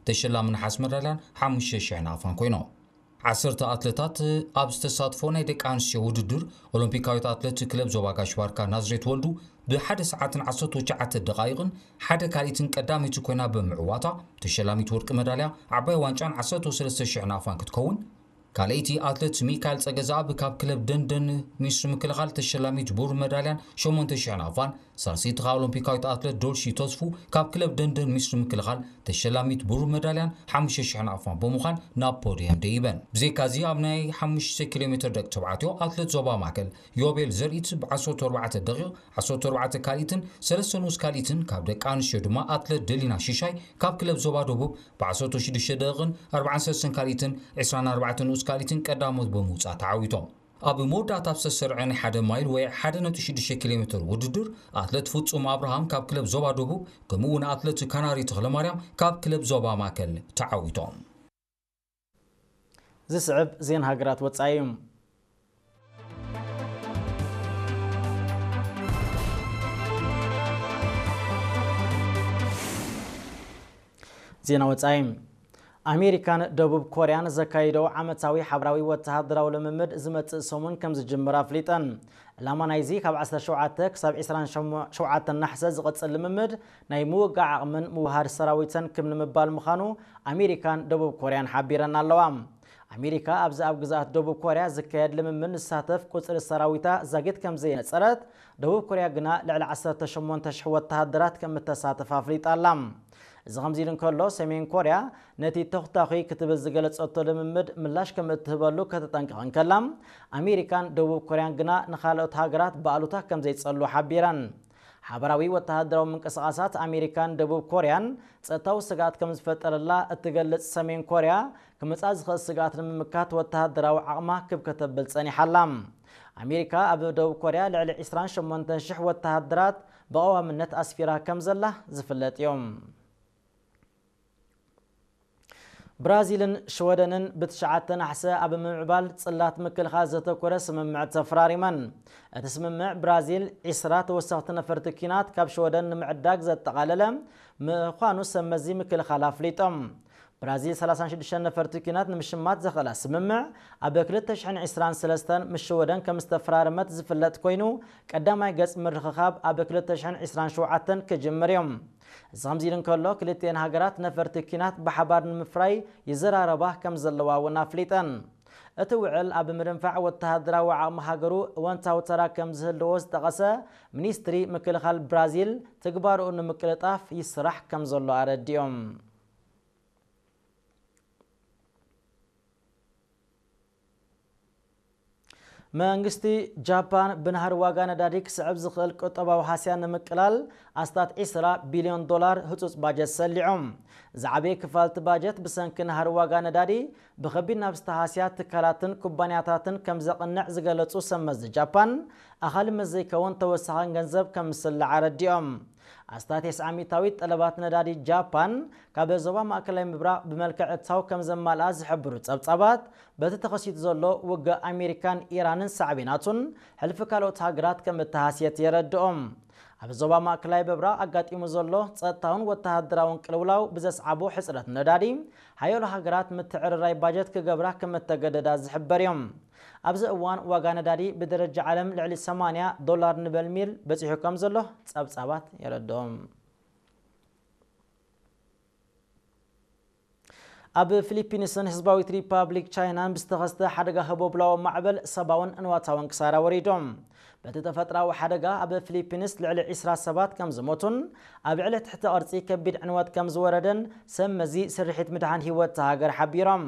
ተሸላሚ ነሓስ መዳልያን ሓሙሽተ ሽሕ ናቕፋን ኮይኖም። ዓሰርተ ኣትለታት ኣብ ዝተሳትፎ ናይ ደቂ ኣንስትዮ ውድድር፣ ኦሎምፒካዊት ኣትለት ክለብ ዞባ ጋሽ ባርካ ናዝሬት ወልዱ ብሓደ ሰዓትን ዓሰርተ ትሽዓተ ደቓይቕን ሓደ ካልኢትን ቀዳመይቲ ኮይና ብምዕዋታ፣ ተሸላሚት ወርቂ መዳልያ ዓባይ ዋንጫን ዓሰርተ ሰለስተ ሽሕ ናቕፋን ክትከውን፣ ካልኣይቲ ኣትለት ሚካኤል ጸገዝኣብ ካብ ክለብ ደንደን ሚኒስትሪ ምክልኻል ተሸላሚት ብሩር መዳልያን ሸሞንተ ሽሕ ናቕፋን፣ ሳልሰይቲ ከኣ ኦሎምፒካዊት ኣትለት ዶልሺ ተስፉ ካብ ክለብ ደንደን ሚኒስትሪ ምክልኻል ተሸላሚት ብሩር መዳልያን ሓሙሽተ ሽሕ ናቕፋን ብምዃን ናብ ፖድየም ደይበን። ብዘይካዚ ኣብ ናይ ሓሙሽተ ኪሎ ሜትር ደቂ ተባዕትዮ ኣትለት ዞባ ማእከል ዮቤል ዘርኢት ብ ዓሰርተ ኣርባዕተ ደቂቕ ዓሰርተ ኣርባዕተ ካልኢትን ሰለስተ ንኡስ ካልኢትን፣ ካብ ደቂ ኣንስትዮ ድማ ኣትለት ደሊና ሽሻይ ካብ ክለብ ዞባ ደቡብ ብ ዓሰርተ ሽዱሽተ ደቂቕን ኣርባዓን ሰለስተን ካልኢትን ዕስራን ኣርባዕተን ንኡስ ካልኢትን ቀዳሞት ብምውጻእ ተዓዊቶም። ኣብ መወዳእታ ኣብ ዝተሰርዐ ናይ ሓደ ማይል ወይ ሓደ ነጥቢ ሽዱሽተ ኪሎ ሜትር ውድድር፣ ኣትለት ፍጹም ኣብርሃም ካብ ክለብ ዞባ ደቡብ፣ ከምኡ እውን ኣትለት ካናሪ ተኽለማርያም ካብ ክለብ ዞባ ማእከል ተዓዊቶም። ዝስዕብ ዜና ሃገራት ወጻኢ እዩ። ዜና ወጻኢ። ኣሜሪካን ደቡብ ኮርያን ዘካይደው ዓመታዊ ሓባራዊ ወተሃደራዊ ልምምድ ዝመጽእ ሰሙን ከም ዝጅምር ኣፍሊጠን። ዕላማ ናይዚ ካብ ዓሰርተ ሸውዓተ ክሳብ ዕስራን ሸውዓተን ናሕሰ ዝቕጽል ልምምድ ናይ ምውጋዕ ዓቕምን ምውሃድ ሰራዊትን ክብ ንምባል ምዃኑ ኣሜሪካን ደቡብ ኮርያን ሓቢረን ኣለዋ። ኣሜሪካ ኣብዚ ኣብ ግዝኣት ደቡብ ኮርያ ዝካየድ ልምምድ ንሳተፍ ቁጽሪ ሰራዊታ ዛጊት ከም ዘየነጸረት፣ ደቡብ ኮርያ ግና ልዕሊ ዓሰርተ ሸሞንተ ሽሕ ወተሃደራት ከም እተሳትፍ ኣፍሊጣ ኣላ። እዚ ከምዚ ኢሉ እንከሎ፣ ሰሜን ኮርያ ነቲ ተኹታኹይ ክትብል ዝገለጸቶ ልምምድ ምላሽ ከም እትህበሉ ከተጠንቅቕ እንከላ፣ ኣሜሪካን ደቡብ ኮርያን ግና ንኻልኦት ሃገራት ብኣሉታ ከም ዘይጸልዉ ሓቢረን። ሓባራዊ ወተሃደራዊ ምንቅስቓሳት ኣሜሪካን ደቡብ ኮርያን ጸጥታዊ ስግኣት ከም ዝፈጠረላ እትገልጽ ሰሜን ኮርያ፣ ክመጽኣ ዝኽእል ስግኣት ንምምካት ወተሃደራዊ ዓቕማ ክብ ከተብል ጸኒሓ ኣላ። ኣሜሪካ ኣብ ደቡብ ኮርያ ልዕሊ ዕስራን ሸሞንተን ሽሕ ወተሃደራት ብቐዋምነት ኣስፊራ ከም ዘላ ዝፍለጥ እዩ። ብራዚልን ሽወደንን ብትሽዓተ ናሕሰ ኣብ ምምዕባል ጽላት ምክልኻል ዘተኮረ ስምምዕ ተፈራሪመን። እቲ ስምምዕ ብራዚል ዕስራ ተወሰኽቲ ነፈርቲ ኲናት ካብ ሽወደን ንምዕዳግ ዘጠቓለለ ምዃኑ ሰብ መዚ ምክልኻል ኣፍሊጦም። ብራዚል ሰላሳን ሽዱሽተን ነፈርቲ ኲናት ንምሽማት ዘኽእላ ስምምዕ ኣብ ክልተ ሽሕን ዕስራን ሰለስተን ምስ ሽወደን ከም ዝተፈራረመት ዝፍለጥ ኮይኑ፣ ቀዳማይ ገጽ ምርኽኻብ ኣብ ክልተ ሽሕን ዕስራን ሸውዓተን ክጅምር እዩ። እዚ ከምዚ ኢሉ እንከሎ፣ ክልቲኤን ሃገራት ነፈርቲ ኲናት ብሓባር ንምፍራይ ይዘራረባ ከም ዘለዋ እውን ኣፍሊጠን። እቲ ውዕል ኣብ ምድንፋዕ ወተሃደራዊ ዓቕሚ ሃገሩ እወንታዊ ተራ ከም ዝህልዎ ዝጠቐሰ ሚኒስትሪ ምክልኻል ብራዚል፣ ትግባርኡ ንምቅልጣፍ ይስራሕ ከም ዘሎ ኣረዲኦም። መንግስቲ ጃፓን ብናህሪ ዋጋ ነዳዲ ክስዕብ ዝኽእል ቁጠባዊ ሃስያ ንምቅላል ኣስታት ዕስራ ቢልዮን ዶላር ህጹጽ ባጀት ሰሊዑ። ዝዓበየ ክፋል እቲ ባጀት ብሰንኪ ናህሪ ዋጋ ነዳዲ ብኸቢድ ናብ ዝተሃስያ ትካላትን ኩባንያታትን ከም ዘቕንዕ ዝገለጹ ሰብ መዚ ጃፓን፣ ኣኻሊ ምስ ዘይከውን ተወሳኺ ገንዘብ ከም ዝስላዕ ኣረዲኦም። ኣስታት ተስዓ ሚእታዊት ጠለባት ነዳዲ ጃፓን ካብ ዞባ ማእከላይ ምብራቕ ብመልክዕ እታው ከም ዘማልኣ ዝሕብሩ ጸብጻባት፣ በቲ ተኸሲቱ ዘሎ ውግእ ኣሜሪካን ኢራንን ሳዕቤናቱን፣ ሕልፊ ካልኦት ሃገራት ከም እተሃስየት የረድኦም። ኣብ ዞባ ማእከላይ ምብራቕ ኣጋጢሙ ዘሎ ጸጥታውን ወተሃደራውን ቅልውላው ብዘስዓቦ ሕጽረት ነዳዲ፣ ሓያሎ ሃገራት ምትዕርራይ ባጀት ክገብራ ከም እተገደዳ ዝሕበር እዮም። ኣብዚ እዋን ዋጋ ነዳዲ ብደረጃ ዓለም ልዕሊ ሰማንያ ዶላር ንበርሚል በጺሑ ከም ዘሎ ጸብጻባት የረድኦም። ኣብ ፊሊፒንስን ህዝባዊት ሪፓብሊክ ቻይናን ብዝተኸስተ ሓደጋ ህቦብላዊ ማዕበል ሰብኣውን ንዋታውን ክሳራ ወሪዶም። በቲ ተፈጥራዊ ሓደጋ ኣብ ፊሊፒንስ ልዕሊ ዕስራ ሰባት ከም ዝሞቱን ኣብ ዕለት ትሕተ ቅርጺ ከቢድ ዕንወት ከም ዝወረደን ሰብ መዚ ስርሒት ምድሓን ህይወት እታ ሃገር ሓቢሮም።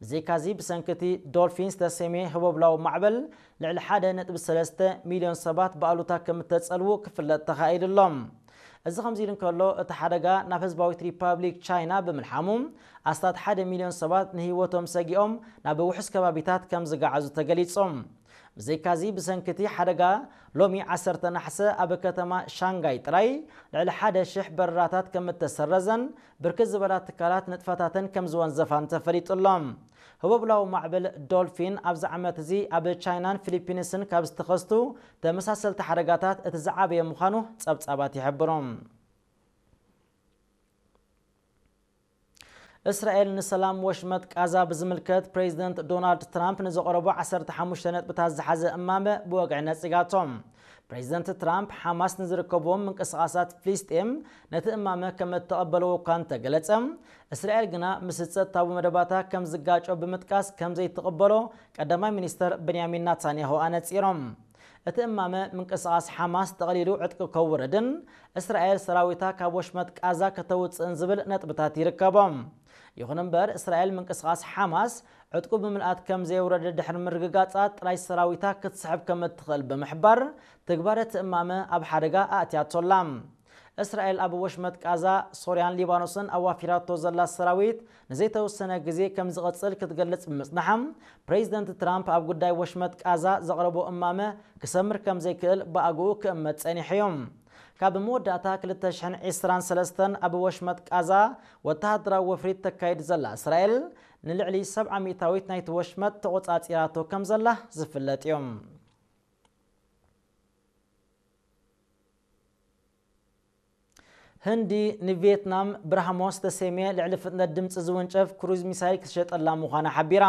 ብዘይካዚ ብሰንኪ እቲ ዶልፊን ዝተሰምየ ህቦብላዊ ማዕበል ልዕሊ ሓደ ነጥቢ ሰለስተ ሚልዮን ሰባት ብኣሉታ ከም እተጸልዉ ክፍለጥ ተኻኢሉ ኣሎ። እዚ ከምዚ ኢሉ እንከሎ፣ እቲ ሓደጋ ናብ ህዝባዊት ሪፓብሊክ ቻይና ብምልሓሙ፣ ኣስታት ሓደ ሚልዮን ሰባት ንህይወቶም ሰጊኦም ናብ ውሑስ ከባቢታት ከም ዝገዓዙ ተገሊጹ። ብዘይካዚ፣ ብሰንኪ እቲ ሓደጋ፣ ሎሚ ዓሰርተ ናሕሰ ኣብ ከተማ ሻንጋይ ጥራይ ልዕሊ ሓደ ሽሕ በረራታት ከም እተሰረዘን ብርክት ዝበላ ትካላት ንጥፈታተን ከም ዝወንዘፋን ተፈሊጡ ኣሎ። ህቦብላዊ ማዕበል ዶልፊን ኣብዚ ዓመት እዚ ኣብ ቻይናን ፊሊፒንስን ካብ ዝተኸስቱ ተመሳሰልቲ ሓደጋታት እቲ ዝዓበየ ምዃኑ ጸብጻባት ይሕብሩ። እስራኤል ንሰላም ወሽመጥ ቃዛ ብዝምልከት ፕሬዚደንት ዶናልድ ትራምፕ ንዘቕረቦ ዓሰርተ ሓሙሽተ ነጥብታት ዝሓዘ እማመ ብወግዒ ነጺጋቶ። ፕሬዚደንት ትራምፕ ሓማስ ንዝርከብዎም ምንቅስቓሳት ፍልስጤም ነቲ እማመ ከም እተቐበልዎ እኳ እንተገለጸ፣ እስራኤል ግና ምስ ጸጥታዊ መደባታ ከም ዝጋጮ ብምጥቃስ ከም ዘይትቕበሎ ቀዳማይ ሚኒስተር ብንያሚን ናታንያሁ ኣነጺሮም። እቲ እማመ ምንቅስቓስ ሓማስ ጠቕሊሉ ዕጥቂ ከውርድን እስራኤል ሰራዊታ ካብ ወሽመጥ ቃዛ ከተውጽእን ዝብል ነጥብታት ይርከቦ። ይኹን እምበር እስራኤል ምንቅስቓስ ሓማስ ዕጥቁ ብምልኣት ከም ዘየውረደ ድሕሪ ምርግጋጻ ጥራይ ሰራዊታ ክትስሕብ ከም እትኽእል ብምሕባር ትግባረ እቲ እማመ ኣብ ሓደጋ ኣእትያቶ ኣላ። እስራኤል ኣብ ወሽመጥ ቃዛ፣ ሶርያን ሊባኖስን ኣዋፊራቶ ዘላ ሰራዊት ንዘይተወሰነ ግዜ ከም ዝቐጽል ክትገልጽ ብምጽናሓ፣ ፕሬዚደንት ትራምፕ ኣብ ጉዳይ ወሽመጥ ቃዛ ዘቕረቦ እማመ ክሰምር ከም ዘይክእል ብኣግኡ ክእመት ጸኒሑ እዩ። ካብ መወዳእታ ክልተ ሽሕን ዕስራን ሰለስተን ኣብ ወሽመጥ ቃዛ ወተሃደራዊ ወፍሪ ተካይድ ዘላ እስራኤል ንልዕሊ ሰብዓ ሚእታዊት ናይቲ ወሽመጥ ተቖጻጺራቶ ከም ዘላ ዝፍለጥ እዩ። ህንዲ ንቪየትናም ብራህሞስ ዝተሰምየ ልዕሊ ፍጥነት ድምፂ ዝውንጨፍ ክሩዝ ሚሳይል ክትሸጠላ ምዃና ሓቢራ።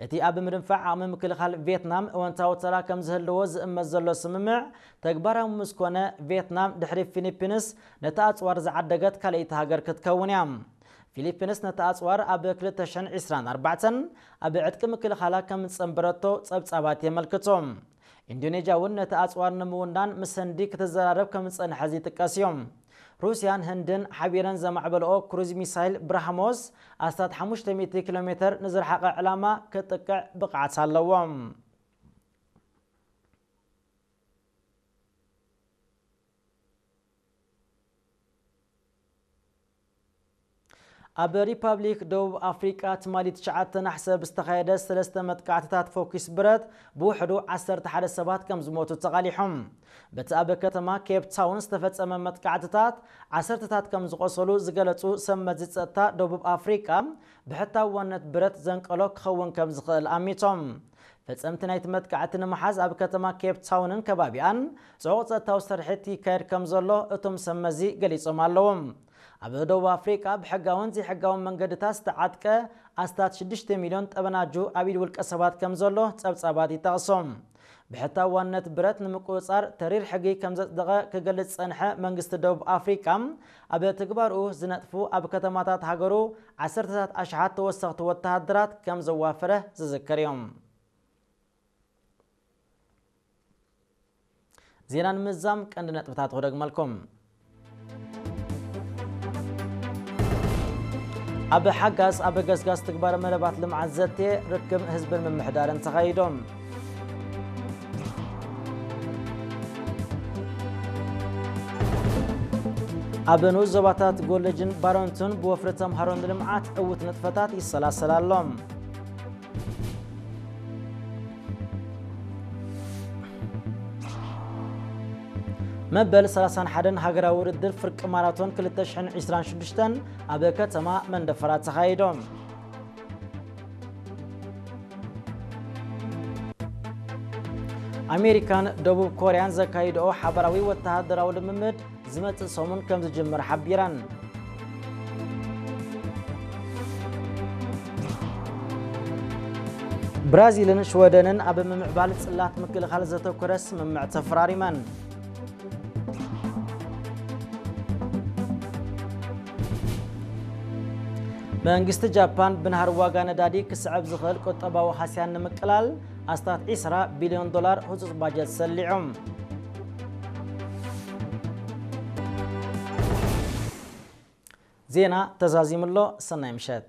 እቲ ኣብ ምድንፋዕ ዓቕሚ ምክልኻል ቪየትናም እወንታዊ ተራ ከም ዝህልዎ ዝእመት ዘሎ ስምምዕ ተግባራዊ ምስ ኮነ፣ ቪየትናም ድሕሪ ፊሊፒንስ ነቲ ኣፅዋር ዝዓደገት ካልኣይቲ ሃገር ክትከውን እያ። ፊሊፒንስ ነቲ ኣፅዋር ኣብ ክልተ ሽሕን ዕስራን ኣርባዕተን ኣብ ዕጥቂ ምክልኻላ ከም ዝፀንበረቶ ፀብፃባት የመልክቱ። ኢንዶኔዥያ እውን ነቲ ኣጽዋር ንምውናን ምስ ህንዲ ክትዘራረብ ከም ዝጸንሐ ዝጥቀስ እዩ። ሩስያን ህንድን ሓቢረን ዘማዕበልኦ ክሩዝ ሚሳይል ብራህሞስ ኣስታት ሓሙሽተ ሚእቲ ኪሎ ሜተር ንዝረሓቐ ዕላማ ክጥቅዕ ብቕዓት ኣለዎ። ኣብ ሪፓብሊክ ደቡብ ኣፍሪቃ ትማሊ ትሽዓተ ናሕሰ ብዝተኻየደ ሰለስተ መጥቃዕትታት ፎኪስ ብረት ብውሕዱ ዓሰርተ ሓደ ሰባት ከም ዝሞቱ ተቓሊሖም። በቲ ኣብ ከተማ ኬፕ ታውን ዝተፈጸመ መጥቃዕትታት ዓሰርተታት ከም ዝቖሰሉ ዝገለጹ ሰብ መዚ ጸጥታ ደቡብ ኣፍሪቃ፣ ብሕታውነት ብረት ዘንቀሎ ክኸውን ከም ዝኽእል ኣሚቶም። ፈጸምቲ ናይቲ መጥቃዕቲ ንምሓዝ ኣብ ከተማ ኬፕ ታውንን ከባቢኣን ጽዑቕ ጸጥታዊ ስርሒት ይካየድ ከም ዘሎ እቶም ሰብ መዚ ገሊጾም ኣለዉ። ኣብ ደቡብ ኣፍሪቃ ብሕጋውን ዘይሕጋውን መንገድታት ዝተዓጥቀ ኣስታት ሽዱሽተ ሚልዮን ጠበናጁ ኣብ ኢድ ውልቀ ሰባት ከም ዘሎ ጸብጻባት ይጠቕሱ። ብሕታውነት ብረት ንምቁጽጻር ተሪር ሕጊ ከም ዘጽደቐ ክገልጽ ዝጸንሐ መንግስቲ ደቡብ ኣፍሪቃ፣ ኣብ ትግባርኡ ዝነጥፉ ኣብ ከተማታት ሃገሩ ዓሰርተታት ኣሽሓት ተወሰኽቲ ወተሃደራት ከም ዘዋፈረ ዝዝከር እዩ። ዜና ንምዛም ቀንዲ ነጥብታት ክደግመልኩም። ኣብ ሓጋዝ ኣብ ገስጋስ ትግባረ መደባት ልምዓት ዘተ ርክብ ህዝብን ምምሕዳርን ተኻይዶም። ኣብ ንኡስ ዞባታት ጎለጅን ባረንቱን ብወፍሪ ተምሃሮ ንልምዓት ዕዉት ንጥፈታት ይሰላሰል ኣሎ። መበል ሰላሳን ሓደን ሃገራዊ ውድድር ፍርቂ ማራቶን ክልተ ሽሕን ዕስራን ሽዱሽተን ኣብ ከተማ መንደፈራ ተኻይዶም። ኣሜሪካን ደቡብ ኮርያን ዘካይድኦ ሓባራዊ ወተሃደራዊ ልምምድ ዝመጽእ ሰሙን ከም ዝጅምር ሓቢረን። ብራዚልን ሽወደንን ኣብ ምምዕባል ጽላት ምክልኻል ዘተኮረ ስምምዕ ተፈራሪመን። መንግስቲ ጃፓን ብናህሪ ዋጋ ነዳዲ ክስዕብ ዝኽእል ቁጠባዊ ሃስያን ንምቅላል ኣስታት ዕስራ ቢልዮን ዶላር ህጹጽ ባጀት ሰሊዑ። ዜና ተዛዚሙ ኣሎ። ሰናይ ምሸት።